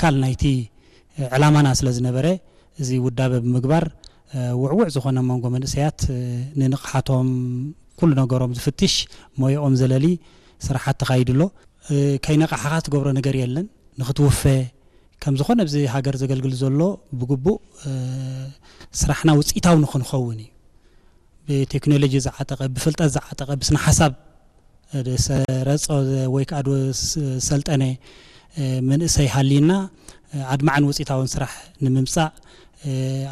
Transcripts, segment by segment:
ኣካል ናይቲ ዕላማና ስለ ዝነበረ፣ እዚ ውዳበ ብምግባር ውዕውዕ ዝኾነ መንጎ መንእሰያት ንንቕሓቶም፣ ኩሉ ነገሮም ዝፍትሽ፣ ሞያኦም ዘለሊ ስራሓት ተኻይዱ ኣሎ። ከይነቓሕኻ ትገብሮ ነገር የለን። ንኽትውፈ ከም ዝኾነ ኣብዚ ሃገር ዘገልግል ዘሎ ብግቡእ ስራሕና ውፅኢታዊ ንኽንኸውን እዩ። ብቴክኖሎጂ ዝዓጠቐ፣ ብፍልጠት ዝዓጠቐ፣ ብስነ ሓሳብ ዝሰረጸ ወይ ከዓ ዝሰልጠነ መንእሰይ ሃልይና ኣድማዕን ውፅኢታውን ስራሕ ንምምፃእ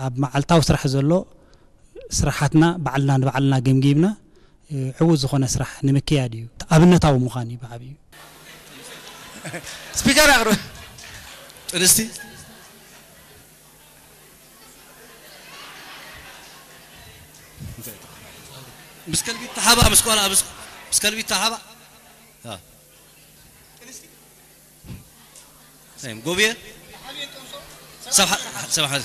ኣብ መዓልታዊ ስራሕ ዘሎ ስራሓትና ባዕልና ንባዕልና ገምጊምና ዕዉት ዝኾነ ስራሕ ንምክያድ እዩ። ኣብነታዊ ምዃን እዩ ብዓብዩ። ስፒከር ኣቕርብ። ጥንስቲ ምስ ከልቢ ተሓባ ምስ ጓል ምስ ከልቢ ተሓባ ጎብየ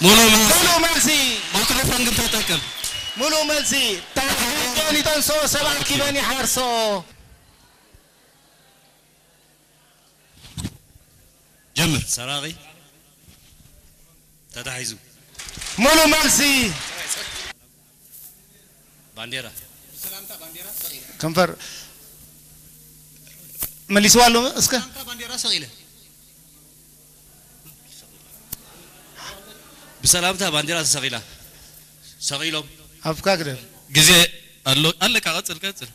ሙሉ መልሲ ሙሉ መልሲ ማይክሮፎን ግን ተጠቀም ሙሉ መልሲ ታሕቲ ዶኒ ጠንሶ ሰባት ኪበን ይሓርሶ ጀምር ሰራቂ ተታሒዙ ሙሉ መልሲ ባንዴራ ከንፈር መሊስዋ ኣሎ እስከ ባንዴራ ሰቂለ ብሰላምታ ባንዴራ ተሰቂላ ሰቂሎም ኣፍካ ግደፍ ግዜ ኣሎ ኣለካ ቀጽል ቀጽል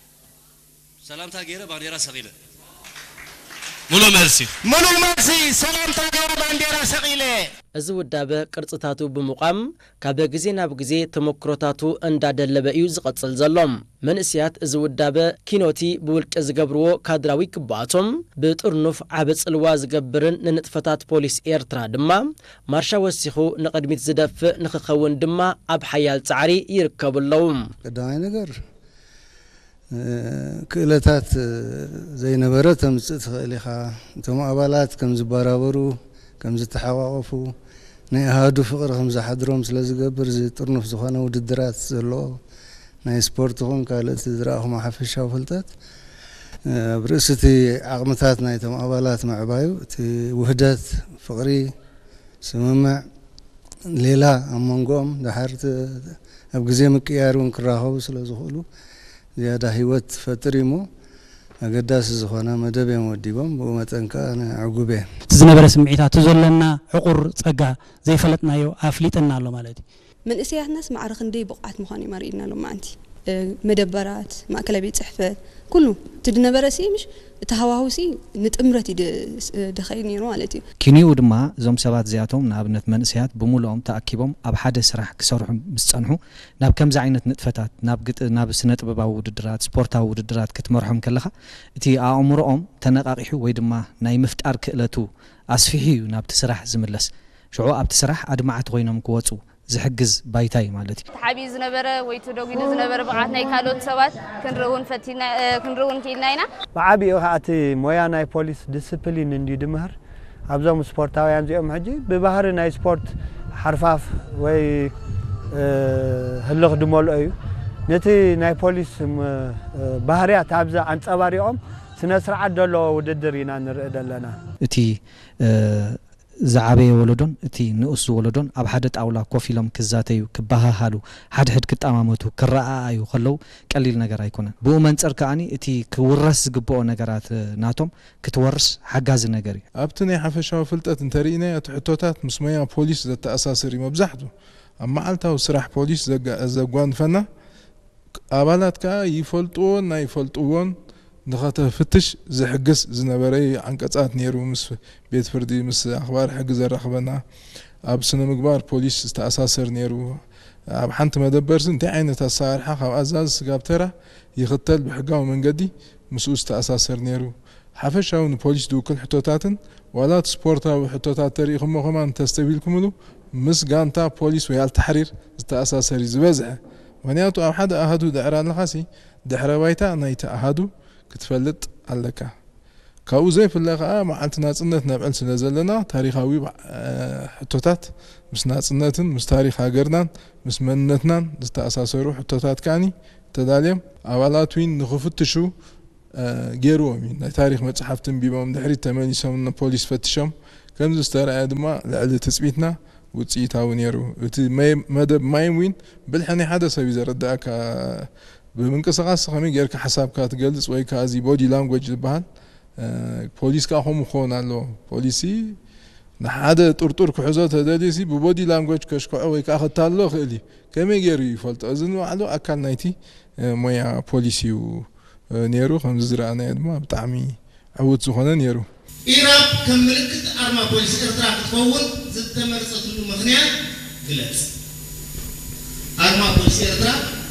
ሰላምታ ገይረ ባንዴራ ሰቒለ። ሙሉ መልሲ። ሙሉ መልሲ። ሰላምታ ገይረ ባንዴራ ሰቒለ። እዚ ውዳበ ቅርጽታቱ ብምቋም ካብ ግዜ ናብ ግዜ ተመክሮታቱ እንዳደለበ እዩ ዝቐጽል ዘሎ። መንእሰያት እዚ ውዳበ ኪኖቲ ብውልቂ ዝገብርዎ ካድራዊ ግብኣቶም ብጥርኑፍ ዓቢ ጽልዋ ዝገብርን ንንጥፈታት ፖሊስ ኤርትራ ድማ ማርሻ ወሲኹ ንቕድሚት ዝደፍእ ንኽኸውን ድማ ኣብ ሓያል ጻዕሪ ይርከቡ ኣለዉ። ቀዳማይ ነገር ክእለታት ዘይነበረ ተምጽእ ትኽእል ኢኻ። እቶም ኣባላት ከም ዝበራበሩ፣ ከም ዝተሓቋቖፉ፣ ናይ ኣሃዱ ፍቕሪ ከም ዝሓድሮም ስለ ዝገብር፣ እዚ ጥርኑፍ ዝኾነ ውድድራት ዘለዎ ናይ ስፖርት ይኹን ካልእ እቲ ዝረኣኹሞ ሓፈሻዊ ፍልጠት፣ ኣብ ርእሲ እቲ ዓቕምታት ናይቶም ኣባላት ምዕባዩ፣ እቲ ውህደት፣ ፍቕሪ፣ ስምምዕ፣ ሌላ ኣብ መንጎኦም ደሓር ኣብ ግዜ ምቅያር እውን ክራኸቡ ስለ ዝኽእሉ ዝያዳ ህይወት ትፈጥር እዩ እሞ ኣገዳሲ ዝኾነ መደብ እዮም ወዲቦም። ብኡ መጠን ከኣ ንዕጉብ እየ። እቲ ዝነበረ ስምዒታት፣ እቲ ዘሎና ዕቑር ጸጋ ዘይፈለጥናዮ ኣፍሊጥና ኣሎ ማለት እዩ። መንእሰያትናስ ማዕረ ክንደይ ብቑዓት ምዃኖም ኣርእዩና ሎማዓንቲ። መደበራት፣ ማእከላይ ቤት ጽሕፈት፣ ኩሉ እቲ ዝነበረ ሲ ምሽ እቲ ሃዋህው ሲ ንጥምረት እዩ ደኸይድ ነይሩ ማለት እዩ። ኪንኡ ድማ እዞም ሰባት እዚኣቶም ንኣብነት መንእሰያት ብምሉኦም ተኣኪቦም ኣብ ሓደ ስራሕ ክሰርሑ ምስ ጸንሑ ናብ ከምዚ ዓይነት ንጥፈታት ናብ ግጥ ናብ ስነ ጥበባዊ ውድድራት ስፖርታዊ ውድድራት ክትመርሖም ከለኻ እቲ ኣእምሮኦም ተነቃቂሑ ወይ ድማ ናይ ምፍጣር ክእለቱ ኣስፊሑ እዩ ናብቲ ስራሕ ዝምለስ። ሽዑ ኣብቲ ስራሕ ኣድማዕቲ ኮይኖም ክወጹ ዝሕግዝ ባይታ እዩ ማለት እዩ። ተሓቢኡ ዝነበረ ወይ ተደጒሉ ዝነበረ ብቕዓት ናይ ካልኦት ሰባት ክንርኢ እውን ፈቲና ክንርኢ እውን ክኢልና ኢና። ብዓቢኡ ከኣ እቲ ሞያ ናይ ፖሊስ ዲስፕሊን እንድዩ ድምህር። ኣብዞም ስፖርታውያን እዚኦም ሕጂ ብባህሪ ናይ ስፖርት ሓርፋፍ ወይ ህልኽ ድመልኦ እዩ። ነቲ ናይ ፖሊስ ባህርያት ኣብዚ ኣንጸባሪቖም ስነ ስርዓት ዘለዎ ውድድር ኢና ንርኢ ዘለና። እቲ ዝዓበየ ወለዶን እቲ ንኡስ ወለዶን ኣብ ሓደ ጣውላ ኮፍ ኢሎም ክዛተዩ፣ ክበሃሃሉ፣ ሓድሕድ ክጠማመቱ፣ ክረኣኣዩ ከለዉ ቀሊል ነገር ኣይኮነን። ብኡ መንጽር ከኣኒ እቲ ክውረስ ዝግብኦ ነገራት ናቶም ክትወርስ ሓጋዚ ነገር እዩ። ኣብቲ ናይ ሓፈሻዊ ፍልጠት እንተርኢናዮ እቲ ሕቶታት ምስ ሞያ ፖሊስ ዘተኣሳስር እዩ መብዛሕቱ። ኣብ መዓልታዊ ስራሕ ፖሊስ ዘጓንፈና ኣባላት ከኣ ይፈልጥዎን ኣይፈልጥዎን ንኸተፍትሽ ዝሕግዝ ዝነበረ ዓንቀጻት ነይሩ። ምስ ቤት ፍርዲ፣ ምስ ኣኽባር ሕጊ ዘራኽበና፣ ኣብ ስነ ምግባር ፖሊስ ዝተኣሳሰር ነይሩ። ኣብ ሓንቲ መደበርሲ እንታይ ዓይነት ኣሰራርሓ ካብ ኣዛዚ ስጋብ ተራ ይኽተል ብሕጋዊ መንገዲ ምስኡ ዝተኣሳሰር ነይሩ። ሓፈሻዊ ንፖሊስ ዝውክል ሕቶታትን ዋላ እቲ ስፖርታዊ ሕቶታት ተሪኢኹሞ ከማን እንተስተብሂልኩምሉ ምስ ጋንታ ፖሊስ ወይ ኣልታሕሪር ዝተኣሳሰር እዩ ዝበዝሐ። ምኽንያቱ ኣብ ሓደ ኣሃዱ ድሕር ኣለኻሲ ድሕረ ባይታ ናይቲ ኣሃዱ ክትፈልጥ ኣለካ። ካብኡ ዘይፍለ ከኣ መዓልቲ ናጽነት ነብዕል ስለ ዘለና ታሪኻዊ ሕቶታት ምስ ናጽነትን ምስ ታሪኽ ሃገርናን ምስ መንነትናን ዝተኣሳሰሩ ሕቶታት ከኣኒ ተዳልዮም ኣባላት ዊን ንኽፍትሹ ገይርዎም እዩ። ናይ ታሪኽ መጽሓፍቲ ኣንቢቦም፣ ድሕሪት ተመሊሶም ንፖሊስ ፈቲሾም፣ ከምዚ ዝተረኣየ ድማ ልዕሊ ትጽቢትና ውጽኢታዊ ነይሩ። እቲ መይ-፣ መደብ ማይም ዊን ብልሒ ናይ ሓደ ሰብ እዩ ዘረድኣካ። ብምንቅስቓስ ከመይ ጌርካ ሓሳብካ ትገልጽ ወይ ከኣ እዚ ቦዲ ላንጉጅ ዝበሃል፣ እ፣ ፖሊስ ከኣ ከምኡ ክኸውን ኣለዎ። ፖሊሲ ንሓደ ጥርጡር ክሕዞ ተደልዩሲ ብቦዲ ላንጉጅ ከሽክዖ ወይ ከኣ ከታልሎ ይኽእል እዩ። ከመይ ገይሩ ይፈልጦ? እዚ ንባዕሉ ኣካል ናይቲ፣ እ፣ ሞያ ፖሊስ እዩ፣ እ፣ ነይሩ። ከምዚ ዝረኣናዮ ድማ ብጣዕሚ ዕዉት ዝኾነ ነይሩ። ኢራብ ከም ምልክት ኣርማ ፖሊስ ኤርትራ ክትከውን ዝተመረጸትሉ ምኽንያት ግለጽ። ኣርማ ፖሊስ ኤርትራ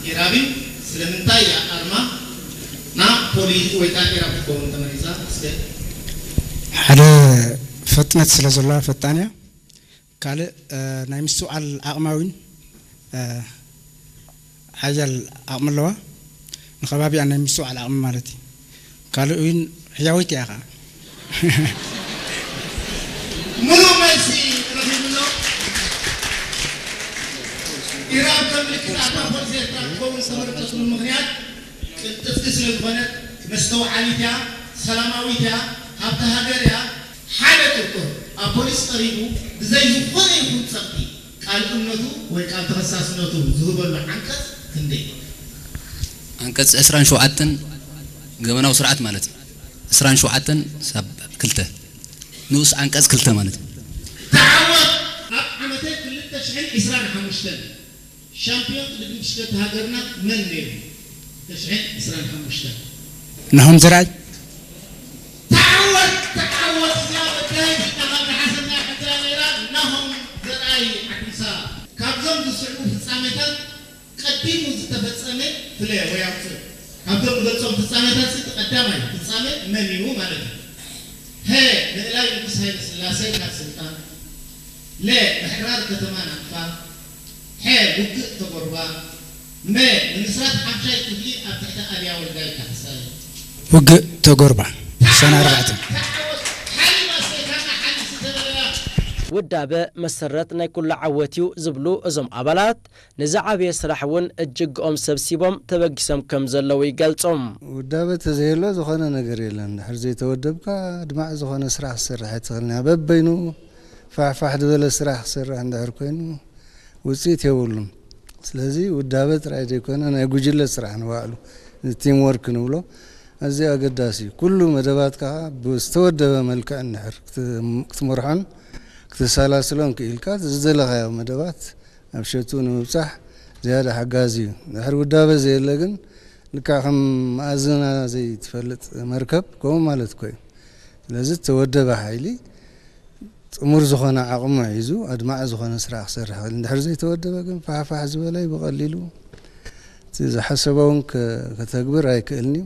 ኢራብ እዩ። ስለምንታይ እያ ኣርማ ና ፖሊስ ወይ ከዓ ኢራብ ክትከውን ተመሪጻ? እስከ ሓደ ፍጥነት ስለ ዘለዋ ፈጣን እያ። ካልእ፣ እ፣ ናይ ምስትውዓል ዓቕማ እውን፣ እ፣ ሓያል ዓቕሚ ኣለዋ። ንኸባቢኣ ናይ ምስትውዓል ዓቕሚ ማለት እዩ። ካልእ እውን ሕያወይቲ እያ ኸዓ። ምሉእ መልሲ ረኺብሎ። ኢራብ ከም ምልክት ኣርማ ፖሊስ ኤርትራ ክትከውን ዝተመረጸትሉ ምኽንያት ቅልጥፍቲ ስለ ዝኾነት፣ መስተውዓሊት እያ፣ ሰላማዊት እያ፣ ሃብቲ ሃገር እያ። ሓደ ጥርጡር ኣብ ፖሊስ ቀሪቡ ብዘይ ዝኾነ ይኹን ጸቕጢ ቃል እምነቱ ወይ ቃል ተኸሳስነቱ ዝህበሉ ዓንቀጽ ክንደይ? ዓንቀጽ ዕስራን ሸውዓተን ገበናዊ ስርዓት ማለት እዩ። ዕስራን ሸውዓተን ሳብ ክልተ ንኡስ ዓንቀጽ ክልተ ማለት እዩ። ተዓወት! ኣብ ዓመተ ክልተ ሽሕን ዕስራን ሓሙሽተን ሻምፒዮን ቅድድም ብሽክለታ ሃገርና መን ነይሩ? ክልተ ሽሕን ዕስራን ሓሙሽተን። ናሆም ዘርኣይ። ተዓወት! ተዓወት! እዚኣ በዳይ ዝናኻ ዝሓሰብና ሕቶ ነይራ። ናሆም ዘርኣይ ዓዲ ምሳ። ካብዞም ዝስዕቡ ፍጻሜታት ቀዲሙ ዝተፈጸመ ፍለ ወይ ኣውፅእ። ካብቶም ንገልጾም ፍጻሜታት እቲ ቀዳማይ ፍጻሜ መን እዩ ማለት እዩ? ሀ፣ ምእላይ ንጉስ ሃይለ ስላሴ ካብ ስልጣን። ለ፣ ምሕራር ከተማ ናቕፋ። ሐ፣ ውግእ ተጎርባ። መ፣ ምምስራት ሓምሻይ ክፍሊ ኣብ ትሕቲ ኣብያ ወልዳይ ካሕሳይ። ውግእ ተጎርባ፣ ሰነ ኣርባዕተ። ሓሊማ ሰይታና ሓሊስ ተበለላ። ውዳበ መሰረት ናይ ኩሉ ዓወት እዩ ዝብሉ እዞም ኣባላት፣ ንዝዓበየ ስራሕ እውን እጅግኦም ሰብሲቦም ተበጊሶም ከም ዘለዉ ይገልጹ። ውዳበ ተዘየሎ ዝኾነ ነገር የለን። እንድሕር ዘይተወደብካ ኣድማዒ ዝኾነ ስራሕ ክትሰርሕ ኣይትኽእልን እያ። በበይኑ ፋሕፋሕ ዝበለ ስራሕ ክሰርሕ እንድሕር ኮይኑ ውፅኢት የብሉን። ስለዚ ውዳበ ጥራይ ዘይኮነ ናይ ጉጅለ ስራሕ ንባዕሉ ቲም ወርክ ንብሎ ኣዝዩ ኣገዳሲ እዩ። ኩሉ መደባትካ ብዝተወደበ መልክዕ እንድሕር ክት-፣ ክትመርሖን ክተሰላስሎን ክኢልካ ዝደለኻዮ መደባት ኣብ ሸቱ ንምብጻሕ ዝያዳ ሓጋዚ እዩ። ድሕሪ ውዳበ ዘየለ ግን ልክዕ ከም መኣዝና ዘይትፈልጥ መርከብ ከምኡ ማለት እኮ እዩ። ስለዚ እተወደበ ሓይሊ ጥሙር ዝኾነ ዓቕሙ ሒዙ ኣድማዒ ዝኾነ ስራሕ ክሰርሕ ይኽእል። እንድሕር ዘይተወደበ ግን ፋሕፋሕ ዝበለ እዩ ብቐሊሉ እቲ ዝሓሰቦ እውን ከ-፣ ከተግብር ኣይክእልን እዩ።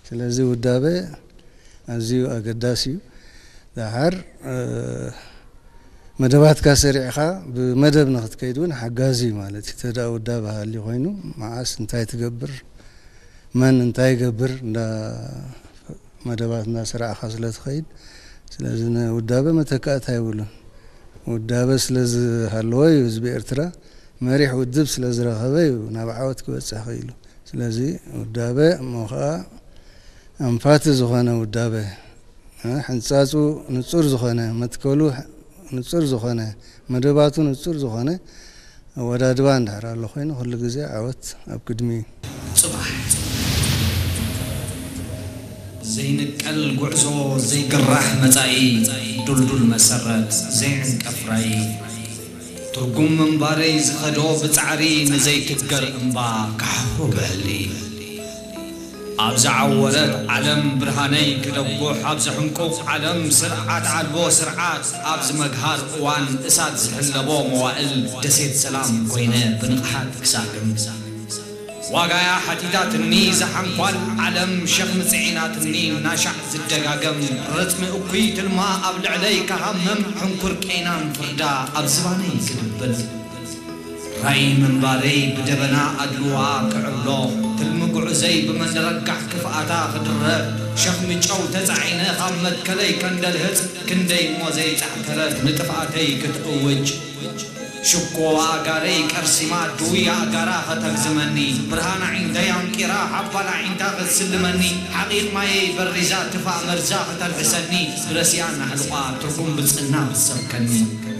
ስለዚ ውዳበ ኣዝዩ ኣገዳሲ እዩ። ደሓር፣ እ፣ መደባትካ ሰሪዕኻ ብመደብ ንኽትከይድ እውን ሓጋዚ እዩ ማለት እዩ። ተዳ ውዳበ ሃልዩ ኮይኑ መዓስ እንታይ ትገብር፣ መን እንታይ ይገብር እንዳ መደባት እንዳ ሰራዕኻ ስለ ትኸይድ፣ ስለዚ ንውዳበ መተካእታ የብሉን። ውዳበ ስለ ዝሃለወ እዩ ህዝቢ ኤርትራ መሪሕ ውድብ ስለ ዝረኸበ እዩ ናብ ዓወት ክበጽሕ ክኢሉ። ስለዚ ውዳበ እሞ ኸኣ ኣንፋቲ ዝኾነ ውዳበ፣ እ፣ ሕንጻጹ ንጹር ዝኾነ፣ መትከሉ ንጹር ዝኾነ፣ መደባቱ ንጹር ዝኾነ ኣወዳድባ እንድሕር ኣሎ ኮይኑ፣ ኩሉ ግዜ ዓወት ኣብ ቅድሚ እዩ። ጽባሕ ዘይንቀል ጉዕዞ፣ ዘይግራሕ መጻኢ፣ ዱልዱል መሰረት፣ ዘይዕንቀፍ ራኢ። ትርጉም ምንባረይ ዝኸዶ ብጻዕሪ፣ ንዘይትገር እምባ ክሓፍሮ ብሕልሚ። ኣብ ዝዓወረት ዓለም ብርሃነይ ክደጉሕ፣ ኣብ ዝሕንቁቕ ዓለም ስርዓት ኣልቦ ስርዓት፣ ኣብዚ መግሃር እዋን እሳት ዝሕለቦ መዋእል፣ ደሴት ሰላም ኮይነ ብንቕሓት ክሳግም። ዋጋያ ሓቲታትኒ፣ ዝሓንኳል ዓለም ሸኽሚ ጽዒናትኒ፣ ናሻዕ ዝደጋገም ርጽሚ እኩይ ትልማ ኣብ ልዕለይ ክሃምም፣ ሕንኩር ቄናን ፍርዳ ኣብ ዝባነይ ክድብል። ራእይ ምንባረይ ብደበና ኣድልዋ ክዕሎ፣ ትልሚ ጉዕዘይ ብመንደረጋሕ ክፍኣታ ክድረብ፣ ሸኽሚ ጨው ተጻዒነ ካብ መትከለይ ከንደልህጽ፣ ክንደይ እሞ ዘይጻዕተረት ንጥፍኣተይ ክትእውጅ። ሽኮ ኣእጋረይ ቀርሲማ ድውይ ኣእጋራ ከተግዝመኒ፣ ብርሃን ኣዒንተይ ኣንቂራ ሓባል ኣዒንታ ክትስልመኒ፣ ሓቒቕ ማየይ በሪዛ ትፋእ መርዛ ከተልሕሰኒ፣ ብረሲኣን ኣሕልቋ ትርጉም ብጽና ክትሰብከኒ።